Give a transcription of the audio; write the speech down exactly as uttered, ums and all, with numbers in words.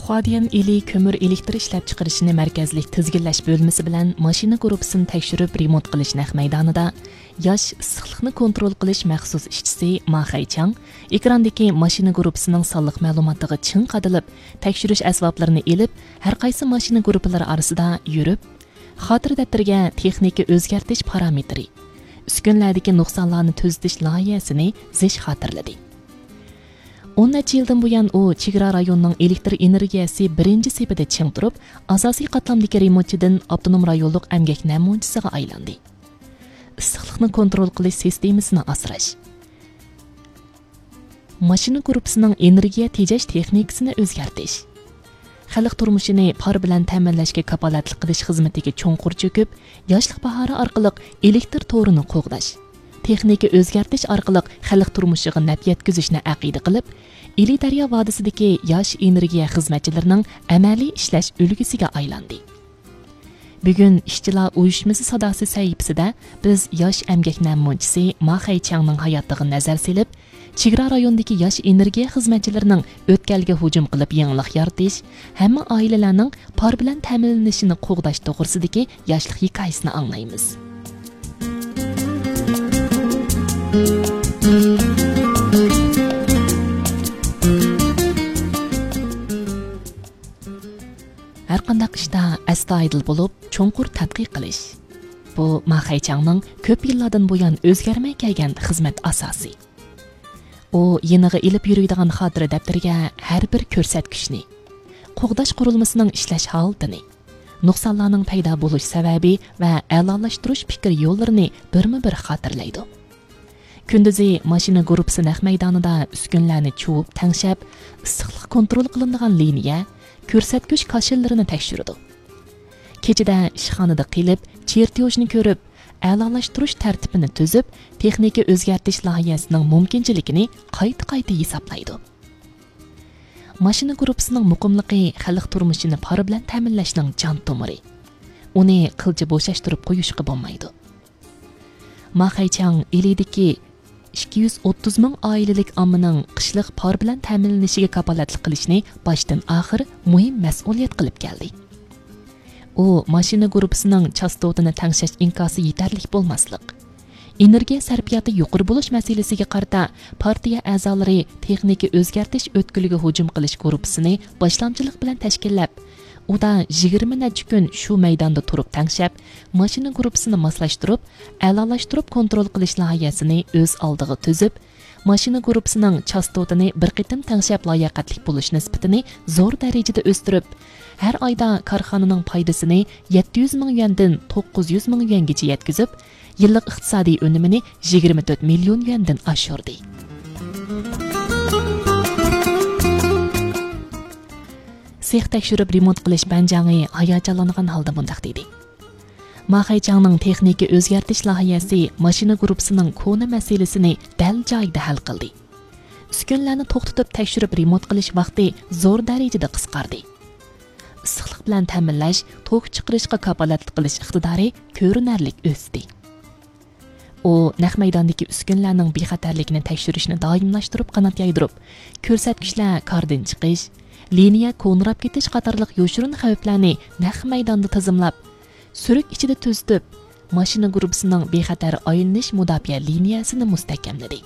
قۇادىيەن ئىلى كۆمۈر ئېلېكتر ئىشلەپچىقىرىشىنى مەركەزلىك تىزگىنلەش بۆلمىسى بىلەن ماشىنا گۇرۇپپىسىنى تەكشۈرۈپ رېمونت قىلىش نەق مەيدانىدا ياش ئىسسىقلىقنى كونترول قىلىش مەخسۇس ئىشچىسى ما خەيچاڭ ئېكراندىكى ماشىنا گۇرۇپپىسىنىڭ سانلىق مەلۇماتىغا چىڭ قادىلىپ، تەكشۈرۈش ئەسۋابلىرىنى ئېلىپ، ھەر قايسى ماشىنا گۇرۇپپىلىرى ئارىسىدا يۈرۈپ، خاتىرە دەپتىرىگە تېخنىكا ئۆزگەرتىش پارامېتىرى، ئۈسكۈنىلەردىكى نۇقسانلارنى تۈزىتىش لايىھەسىنى زىچ خاتىرىلىدى. ئون نەچچە يىلدىن بۇيان ئۇ چېگرا رايونىنىڭ ئېلېكتر ئېنېرگىيەسى بىرىنچى سېپىدە چىڭ تۇرۇپ، ئاساسىي قاتلامدىكى رېمونتچىدىن ئاپتونوم رايونلۇق ئەمگەك نەمۇنىچىسىغا ئايلاندى. ئىسسىقلىقنى كونترول قىلىش سىستېمىسىنى ئاسراش. ماشىنا گۇرۇپپىسىنىڭ ئېنېرگىيە تېجەش تېخنىكىسىنى ئۆزگەرتىش. خەلق تۇرمۇشىنى پار بىلەن تەمىنلەشكە كاپالەتلىك قىلىش خىزمىتىگە چوڭقۇر چۆكۈپ، ياشلىق باھارى ئارقىلىق ئېلېكتر تورىنى قوغداش، تېخنىكا ئۆزگەرتىش ئارقىلىق خەلق تۇرمۇشىغا نەپ يەتكۈزۈشنى ئەقىدە قىلىپ، ئىلى دەريا ۋادىسىدىكى ياش ئېنېرگىيە خىزمەتچىلىرىنىڭ ئەمەلىي ئىشلەش ئۈلگىسىگە ئايلاندى. بۈگۈن ئىشچىلار ئۇيۇشمىسى ساداسى سەھىپىسىدە بىز ياش ئەمگەك نەمۇنىچىسى ما خەيچياڭنىڭ ھاياتلىقىغا نەزەر سېلىپ، چېگرا رايونىدىكى ياش ئېنېرگىيە خىزمەتچىلىرىنىڭ ئۆتكەلگە ھۇجۇم قىلىپ يېڭىلىق يارىتىش، ھەممە ئائىلىلەرنىڭ پار بىلەن تەمىنلىنىشىنى قوغداش توغرىسىدىكى ياشلىق ھېكايىسىنى ئاڭلايمىز. ھەرقانداق ئىشتا ئەستايىدىل بولۇپ، چوڭقۇر تەتقىق قىلىش. بۇ ما خەيچاڭنىڭ كۆپ يىللاردىن بۇيان ئۆزگەرمەي كەلگەن خىزمەت ئاساسى. ئۇ يېنىغا ئېلىپ يۈرىدىغان خاتىرە دەپتىرىگە ھەر بىر كۆرسەتكۈچنى، قوغداش قۇرۇلمىسىنىڭ ئىشلەش ھالىتىنى، نۇقسانلارنىڭ پەيدا بولۇش سەۋەبى ۋە ئەلالاشتۇرۇش پىكىر يوللىرىنى بىرمۇ بىر خاتىرىلەيدۇ. كۈندۈزى ماشىنا گۇرۇپپىسى نەق مەيدانىدا ئۈسكۈنىلەرنى چۇۋۇپ تەڭشەپ، ئىسسىقلىق كونترول قىلىنىدىغان لىنىيە، كۆرسەتكۈچ كاشىلىرىنى تەكشۈرىدۇ. كېچىدە ئىشخانىدا قېلىپ، چېرتيوژنى كۆرۈپ، ئەلالاشتۇرۇش تەرتىپىنى تۈزۈپ، تېخنىكا ئۆزگەرتىش لايىھەسىنىڭ مۇمكىنچىلىكىنى قايتا-قايتا ھېسابلايدۇ. ماشىنا گۇرۇپپىسىنىڭ مۇقىملىقى خەلق تۇرمۇشىنى پار بىلەن تەمىنلەشنىڭ جان تومۇرى. ئۇنى قىلچە بوشاشتۇرۇپ قويۇشقا بولمايدۇ. ما خەيچاڭ ئىلىدىكى ئىككى يۈز ئوتتۇز مىڭ ئائىلىلىك ئاممىنىڭ قىشلىق پار بىلەن تەمىنلىنىشىگە كاپالەتلىك قىلىشنى باشتىن ئاخىر مۇھىم مەسئۇلىيەت قىلىپ كەلدى. ئۇ ماشىنا گۇرۇپپىسىنىڭ چاستوتىنى تەڭشەش ئىنكاسى يېتەرلىك بولماسلىق، ئېنېرگىيە سەرپىياتى يۇقىرى بولۇش مەسىلىسىگە قارىتا پارتىيە ئەزالىرى تېخنىكا ئۆزگەرتىش ئۆتكىلىگە ھۇجۇم قىلىش گۇرۇپپىسىنى باشلامچىلىق بىلەن تەشكىللەپ، ئۇدا يىگىرمە نەچچە كۈن شۇ مەيداندا تۇرۇپ تەڭشەپ، ماشىنا گۇرۇپپىسىنى ماسلاشتۇرۇپ، ئەلالاشتۇرۇپ كونترول قىلىش لايىھەسىنى ئۆز ئالدىغا تۈزۈپ، ماشىنا گۇرۇپپىسىنىڭ چاستوتىنى بىر قېتىم تەڭشەپ لاياقەتلىك بولۇش نىسبىتىنى زور دەرىجىدە ئۆستۈرۈپ، ھەر ئايدا كارخانىنىڭ پايدىسىنى يەتتە يۈز مىڭ يۈەندىن توققۇز يۈز مىڭ يۈەنگىچە يەتكۈزۈپ، يىللىق ئىقتىسادىي ئۈنۈمىنى يىگىرمە تۆت مىليون يۈەندىن ئاشۇردى. سېخ تەكشۈرۈپ رېمونت قىلىش بەنجاڭى ھاياجانلانغان ھالدا مۇنداق دېدى: ما خەيچاڭنىڭ تېخنىكا ئۆزگەرتىش لايىھەسى ماشىنا گۇرۇپپىسىنىڭ كونا مەسىلىسىنى دەل جايىدا ھەل قىلدى. ئۈسكۈنىلەرنى توختىتىپ تەكشۈرۈپ رېمونت قىلىش ۋاقتى زور دەرىجىدە قىسقاردى. ئىسسىقلىق بىلەن تەمىنلەش، توك چىقىرىشقا كاپالەتلىك قىلىش ئىقتىدارى كۆرۈنەرلىك ئۆستى. ئۇ نەق مەيداندىكى ئۈسكۈنىلەرنىڭ بىخەتەرلىكىنى تەكشۈرۈشنى دائىملاشتۇرۇپ قانات يايدۇرۇپ، كۆرسەتكۈچلەر كاردىن چىقىش، لىنىيە كونىراپ كېتىش قاتارلىق يوشۇرۇن خەۋپلەرنى نەق مەيداندا تىزىملاپ، سۈرۈك ئىچىدە تۈزىتىپ، ماشىنا گۇرۇپپىسىنىڭ بىخەتەر ئايلىنىش مۇداپىئە لىنىيەسىنى مۇستەھكەملىدى.